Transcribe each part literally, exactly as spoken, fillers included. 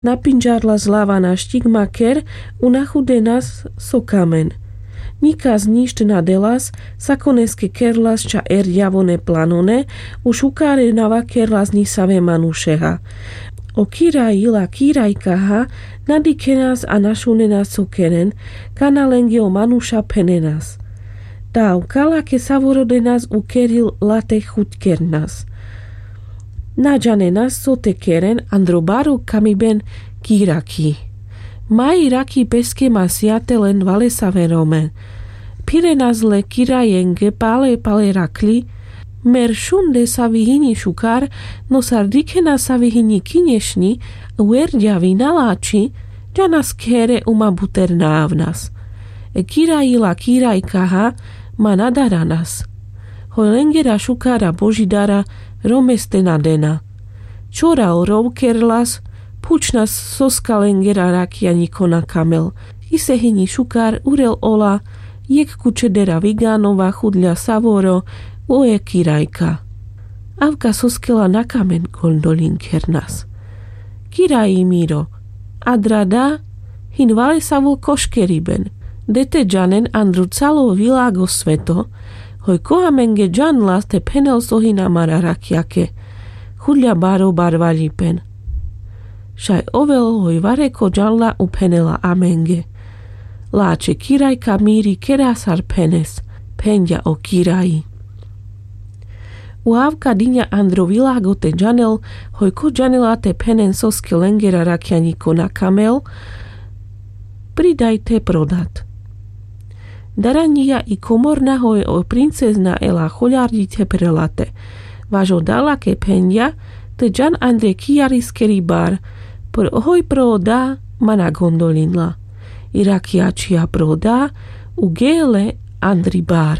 Napindžarlas lava naštik maker u nachudenas so kamen. Nikas ništ na delas. Sakoneske kerlas ča erďavone planone. U šukare na vakerlas nisave manušeha. O kiraji la kirajkaha na dikhenas a na šunenas so keren. Kana lenge o manuša phenenas. Tavka lake savoro denas u keril late chuťkernas. Na džanenas so te keren andro baro kamiben. Kiraki. Maji raki peske masija te len valesave romen. Phirenas le kirajenge pale pale rakľi. Mer šunde savi hini šukar. No sar dikhena savi hini kinješni u erďavi na lači. Džanas khere u ma buter na avnas. E kiraji la kirajkaha ma na daranas. Hoj lengera šukara božidara romeste na dena. Čora o rov kerlas. Phučnas soska lengera rakja nikho na kamel. Ise hini šukar urel ola. Jekh kučedera viganova chudľa savoro. O e kirajka. Avka soske la na kamen. Gondoľin kernas. Kiraji miro. Adra da. Hin valesavo koškeriben. De te džanen andro calo vilago sveto. Hoj ko amenge džanlas te phenel so hin amara rakjake. Chudľa baro barvaľipen. Šaj ovel hoj vareko džanla u phenela amenge. Lače kirajka miri kera sar phenes. Phenďa o kiraji. U avka diňa andro vilago te džanel. Hoj ko džanela te phenen soske lengera rakja nikho na kamel. Pridaj te prodat. Daranďija i komorna hoj o princezna ela choľarďi te prelate. Vaš oda lake phenďa te džan andre kijariskeri bar. Pro hoj pro oda ma na gondoľinla. I raki ačhija pro oda u gele andri bar.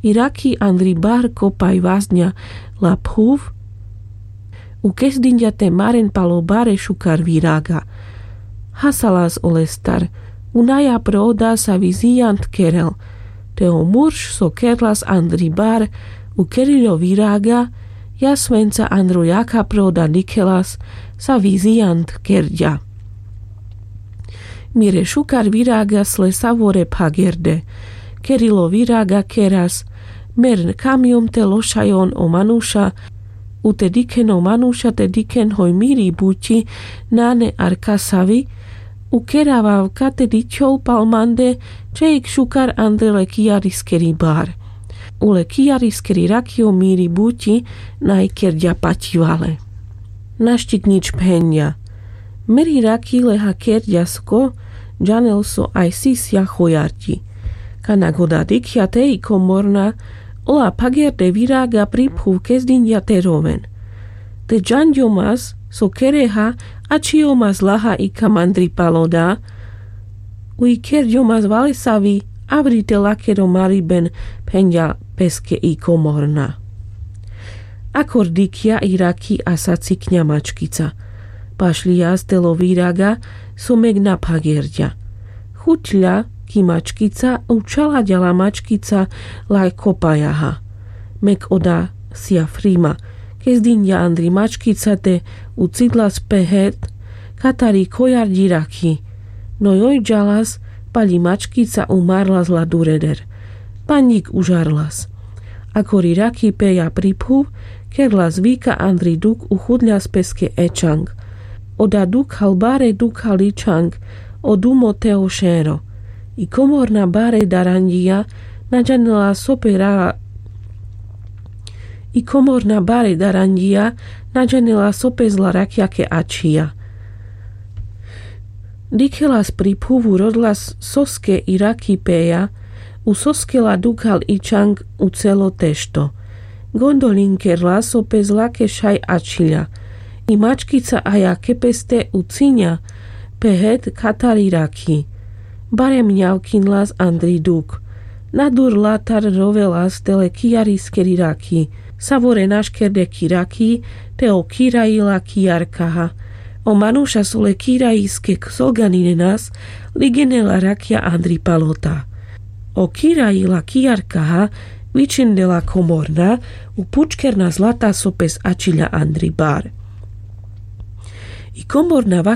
I raki andri bar kopaj vazňa la phuv. U kezdinďa te maren palo bare šukar viraga. Hasalas olestar. U naja pro oda savi zijant kerel. Te o murš so kerlas andri bar u keriľo viraga. Jasvenca andro jakha pro oda dikhelas savi zijant kerďa. Mire šukar viragas le savore phagerde. Kerilo viraga keras. Mer kamjom te lošajon o manuša. U te dikhen o manuša te dikhen hoj miri buťi. Nane arkasavi. U kera vavka te dičhol pal mande. Čeik šukar andre le kijariskeri bar. U le kijariskeri rakjo miri buťi. Naj kerďa paťivale. Naštik nič phenďa. Meri raki leha kerďa sko. Džanel so aj sisja chojarďi. Kana goda dikhľa te i komorna. Ola phagerde viraga pri phuv kezdinďa te roven. Te džanďomas so kereha. Ačhijomas laha i kamandri pal oda. U i kerďomas valesavi. Avri te lakero mariben. Phenďa peske i komorna. Akor dikhľa i raki a sacikňa mačkica. Pašľijas telo viraga. So mek na phagerďa. Chuťľa ki mačkica u čalaďa la mačkica. Laj kopajaha. Mek oda sija frima. Kezdinďa andri mačkica te u cidlas pehet. Katari kojarďi raki. No joj džalas. Paľi mačkica u marlas la dureder. Panďik užarlas. Akori raki peja pri phuv. Kerlas vika andri duk u chuďas peske ečang. Oda dukhal bare dukhal ičang. O dumo te o šero. I komorna bare daranďija. Na džanela so pe ra i komorna bare daranďija. Na džanela so pe zla rakjake ačhija. Dikhelas pri phuv u rodlas soske i raki peja. U soske la dukhal ičang u celo tešto. Gondoľin kerlas so pe zlake šaj ačhiľa. I mačkica ajake peste u ciňa. Pehet katari raki. Bare mňavkinlas andri duk. Na dur latar rovelas tele kijariskeri raki. Savore naškerde ki raki. Te o kiraji la kijarkaha. O manuša so le kirajiske ksoganinenas. Ligenela rakja andri palota. O kiraji la kijarkaha. Vičindela komorna. U pučkerna zlata so pes ačhiľa andri bar. Y con bornaba